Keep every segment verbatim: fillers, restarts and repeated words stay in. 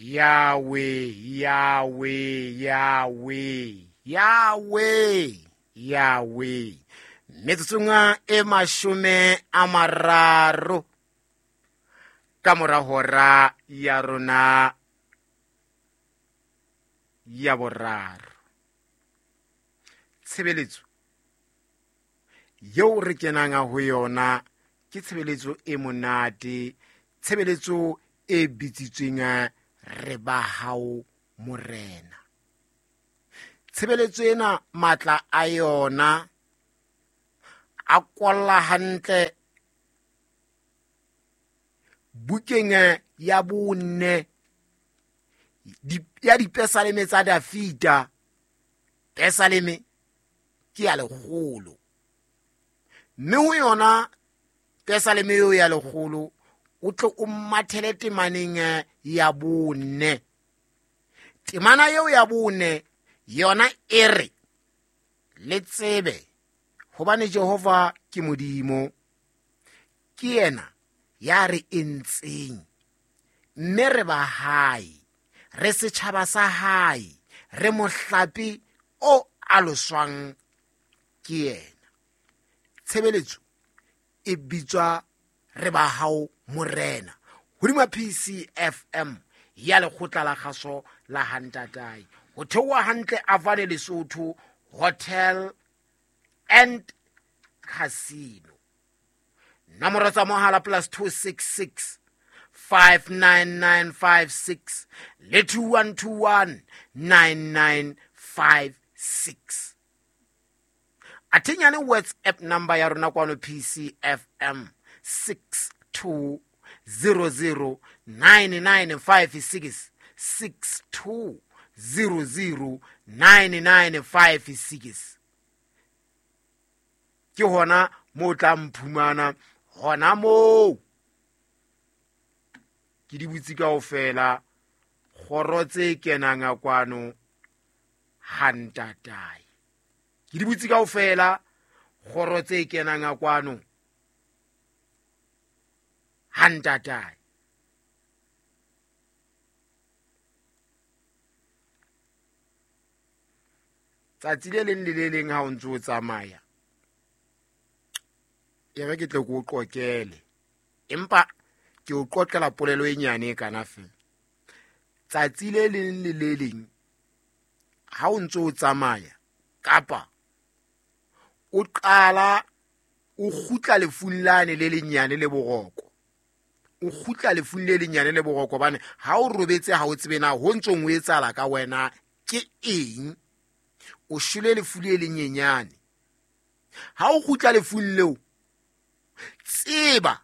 Yahweh, Yahweh, Yahweh, Yahweh, Yahweh. Metsotsong e mashome a mararo ka mora hora ya rona ya boraro. Tshebeletso eo re kenang ho yona ke tshebeletso e monate, tshebeletso e bitsitsweng re ba hao Morena. Tshebeletso ena matla a yona a kwalla hantle bukeng ya bone ya dipesaleme tsa Dafita. Pesaleme ke ya lekgolo, mme ho yona pesaleme eo ya lekgolo o tle o mathele temaneng ya bone. Temana eo ya bone yona e re, le tsebe hobane Jehova ke Modimo, ke yena ya re entseng, mme re ba hae, re setjhaba sa hae, re mohlape o aloswang ke yena. Tshebeletso e bitswa re ba hao Morena, hodima P C F M ya lekgotla la kgaso la Hantatai. Ho theoha hantle Avane Lesotho Hotel and Casino. Nomoro tsa mohala plus two six six five nine nine five six le two one two one nine nine five six. Athenyane WhatsApp number ya rona kwano P C F M six two zero zero nine nine five six, six two zero zero nine nine five six. Ke hona mo tla mphumana hona moo. Ke di butse kaofela kgoro tse kenang kwano Hantatai. Ke di butse kaofela kgoro tse kenang kwano Hantatai. Tsatsi le leng le le leng ha o ntse o tsamaya, e re ke tle ke o qoqele, empa ke o qoqela polelo e nyane e kana feela. Tsatsi le leng le le leng ha o ntse o tsamaya kapa o qala o kgutla lefung lane le lenyane le boroko, o kgutla lefung le lenyane le boroko, hobane ha o robetse ha o tsebe na ho ntsong o etsahala ka wena ke eng. O shwele lefu le lenyenyane. Ha o kgutla lefung leo, tseba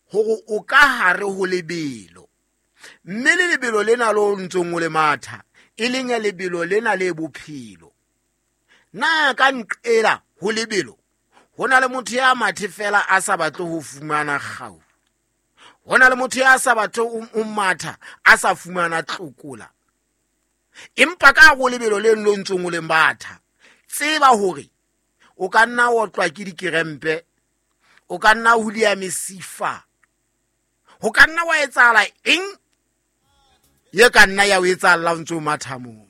hore o ka hare ho lebelo, mme le lebelo lena lo ntsong o le matha e leng ya lebelo lena le bophelo. Na ka nqela ho lebelo ho na le motho ya mathe fela a sa batle ho fumana kgau, ho na le motho ya sa batle ho matha a sa fumana tlokola. Empa ka ho lebelo le lo ntsong o le matha, tseba hore o ka nna wa otlwa ke dikerempe, o ka nna hulia mesifa, ho ka nna wa etsahala eng ye ka nna ya o etsahala o ntso matha moo.